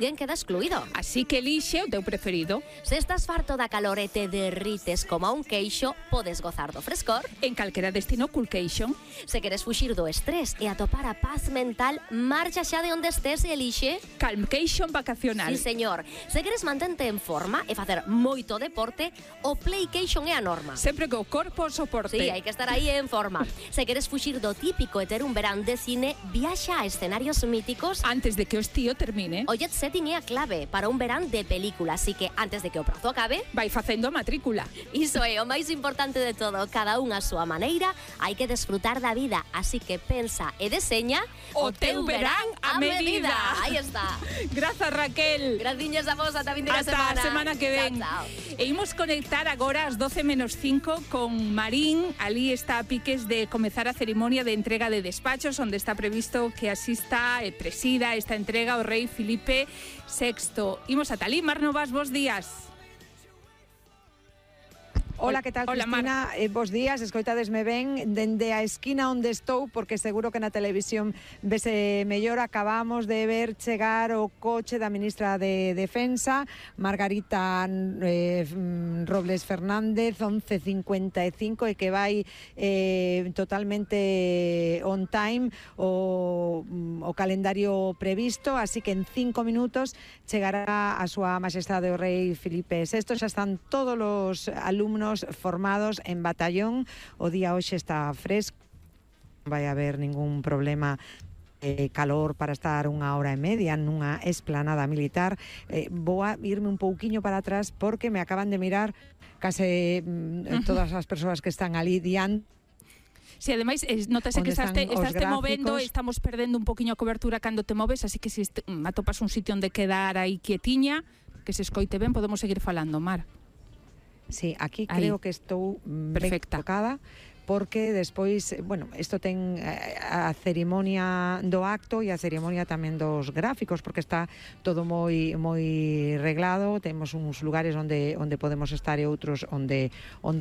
Alguén queda excluído. Así que elixe o teu preferido. Se estás farto da calor e te derrites como a un queixo, podes gozar do frescor. En calquera destino Coolcation. Se queres fuxir do estrés e atopar a paz mental, marcha xa de onde estés e elixe Calmcation vacacional. Sí, señor. Se queres mantente en forma e facer moito deporte, o Playcation é a norma. Sempre co corpo o soporte. Sí, hai que estar aí en forma. Se queres fuxir do típico e ter un verán de cine, viaxa a escenarios míticos. Antes de que o estío termine. O jet setting é a clave para un verán de película, así que antes de que o prazo acabe, vai facendo a matrícula. Iso é o máis importante de todo. Cada un a súa maneira, hai que desfrutar da vida, así que pensa e deseña o teu verán a medida. Aí está. Grazas, Raquel. Graciñas a vos, ata fin de semana. Hasta a semana que ven. Chao, chao. E imos conectar agora ás 12:05 con Marín. Ali está a piques de comezar a cerimonia de entrega de despachos, onde está previsto que asista e presida esta entrega o rei Filipe VI. Imos ata ali. Mar Novas, bos días. Hola, que tal, Hola, Cristina? Bos días, escoitadesme ben dende a esquina onde estou, porque seguro que na televisión vese mellor. Acabamos de ver chegar o coche da ministra de Defensa, Margarita Robles Fernández, 11:55, e que vai totalmente on time o calendario previsto, así que en 5 minutos chegará a súa majestade o rei Filipe VI. Xa están todos os alumnos formados en batallón. O día hoxe está fresco, non vai haber ningún problema calor para estar 1 hora e media nunha esplanada militar. Vou a irme un pouquiño para atrás porque me acaban de mirar case todas as persoas que están ali diante. Si, ademais, notase que estás te movendo, estamos perdendo un poquinho a cobertura cando te moves, así que se atopas un sitio onde quedar aí quietiña, que se escoite ben, podemos seguir falando, Mar. Sí, aquí creo que estou perfecta, tocada, porque despois, bueno, isto ten a cerimonia do acto e a cerimonia tamén dos gráficos, porque está todo moi reglado. Temos uns lugares onde podemos estar e outros onde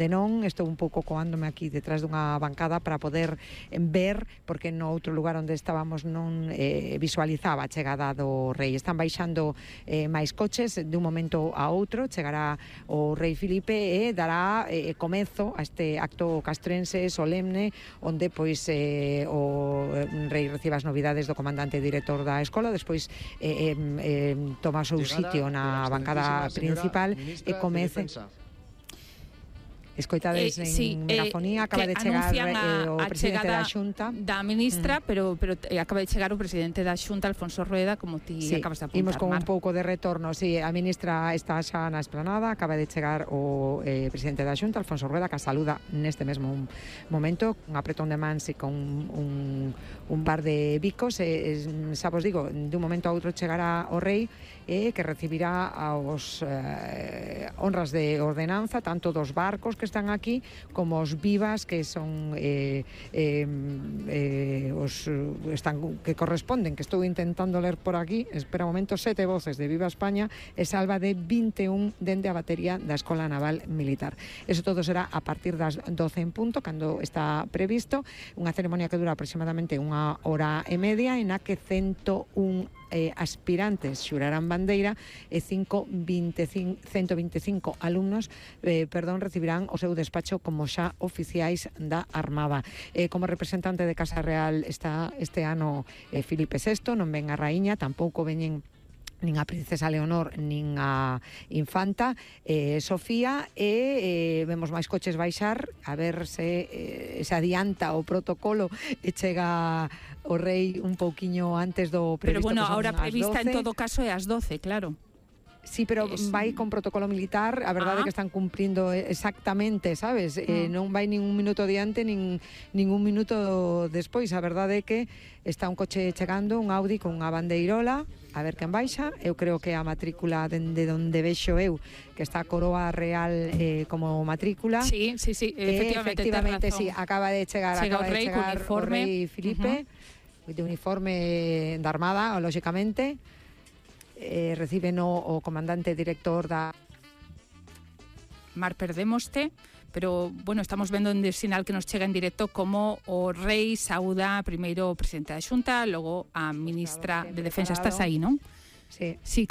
non. Estou un pouco coándome aquí detrás dunha bancada para poder ver, porque no outro lugar onde estábamos non visualizaba a chegada do rei. Están baixando máis coches de un momento a outro. Chegará o rei Filipe e dará comezo a este acto castrense solemne, onde pois o rei recibe as novidades do comandante director da escola, despois toma o seu sitio na bancada principal e comece. Escoitades en megafonía, acaba de chegar o presidente da Xunta da ministra, pero acaba de chegar o presidente da Xunta, Alfonso Rueda, como ti acabas de apuntar. Imos con un pouco de retorno. A ministra está xa na esplanada, acaba de chegar o presidente da Xunta, Alfonso Rueda, que a saluda neste mesmo momento, un apretón de mans e con un par de bicos. Xa vos digo, de un momento a outro chegará o rei, que recibirá aos honras de ordenanza, tanto dos barcos que están aquí como os vivas, que son os que corresponden, que estou intentando ler por aquí, espera un momento, 7 voces de Viva España e salva de 21 dende a batería da Escola Naval Militar. Eso todo será a partir das 12 en punto, cando está previsto, unha ceremonia que dura aproximadamente 1 hora e media, en a que 101 aspirantes xurarán bandeira e 125 alumnos recibirán o seu despacho como xa oficiais da Armada. Como representante de Casa Real está este ano Filipe VI, non ven a raíña, tampouco veñen nin a princesa Leonor nin a infanta Sofía, e vemos máis coches baixar, a ver se adianta o protocolo e chega o rei un pouquiño antes do previsto. Pero bueno, ahora prevista en todo caso é ás 12, claro. Sí, pero vai con protocolo militar. A verdade é que están cumprindo exactamente, sabes? Non vai nin un minuto diante nin un minuto despois. A verdade é que está un coche chegando, un Audi con unha bandeirola, a ver quen baixa. Eu creo que a matrícula dende onde vexo eu, que está a coroa real como matrícula. Sí, efectivamente, sí, acaba de chegar o rei Filipe, de uniforme da Armada, lóxicamente. Reciben o comandante director da... Mar, perdémoste, pero bueno, estamos vendo en el sinal que nos chega en directo como o rei saúda primeiro o presidente da Xunta, logo a ministra de Defensa. Estás aí, non? Sí. Sí,